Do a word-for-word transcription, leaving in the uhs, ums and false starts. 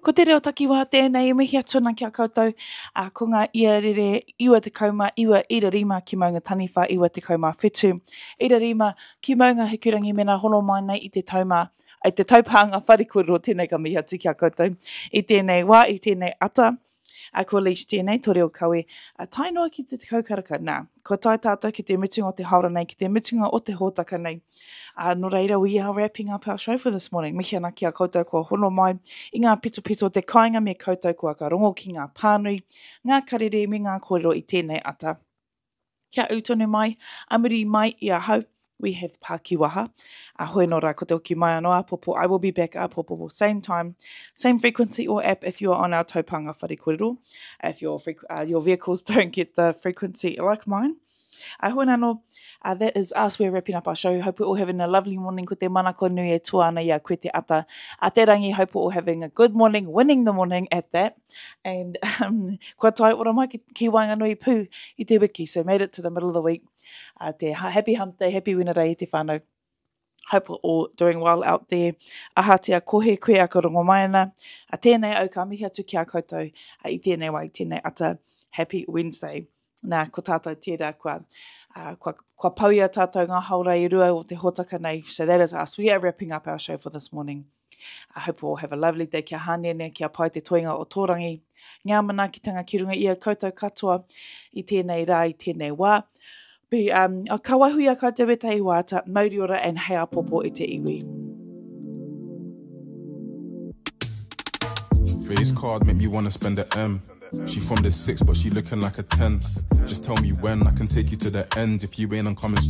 Ko te reo takiwā tēnei e mihi atu ana ki a koutou, ā, ko ngā iarere iwa tekau mā iwa ira rima ki Maunga Taniwha iwa tekau mā whitu ira rima ki Maunga Hikurangi mena hono mai nei i te taumā, i te taupānga whare kōrero tēnei ka mihi atu ki a koutou i tēnei wā, i tēnei ata. A ko Leach tēnei, tō reo kawe, a tae noa ki te tekau karaka. Nā, kua tae tātou ki te mutunga o te haora nei, ki te mutunga o te hōtaka nei. Ā, nō reira, we are wrapping up our show for this morning. Mihi ana ki a koutou kua hono mai i ngā pitopito o te kāinga me koutou kua ka rongo ki ngā pānui, ngā karere me ngā kōrero i tēnei ata. Kia ū tonu mai, a muri mai i ahau, we have Pākiwaha. A hoi nō rā, ko te hoki mai anō āpōpō, I will be back āpōpō, same time, same frequency or app if you are on our taupānga whare kōrero. If your, uh, your vehicles don't get the frequency like mine. A hoi anō, uh, that is us, we're wrapping up our show. Hope we're all having a lovely morning. Ko te manako nui e tua ana i a koe te ata. A te rangi, hope we're all having a good morning, winning the morning at that. And um, kua tae ora mai ki, ki waenganui pū i te wiki. So made it to the middle of the week. Uh, te happy hump day, happy Wenerei te whānau. Hope we're all doing well out there. Ahatia kohe koe a ka rongo mai ana. A tēnei au ka mihi atu ki a koutou a i tēnei wā, i tēnei ata. Happy Wednesday. Nā, ko tātou tērā kua, uh, kua, kua pau i a tātou ngā haora i rua o te hōtaka nei. So that is us. We are wrapping up our show for this morning. I hope we all have a lovely day. Kia hāneanea, kia pai te toenga o tō rangi. Ngā manaakitanga ki runga i a koutou katoa i tēnei rā, i tēnei wā. Be, um, ka waiho i a koutou e te iwāta, mauri ora and hei āpōpō i te iwi. Face card make me wanna spend the M. She from the six, but she looking like a ten. Just tell me when I can take you to the end. If you ain't, I'm coming so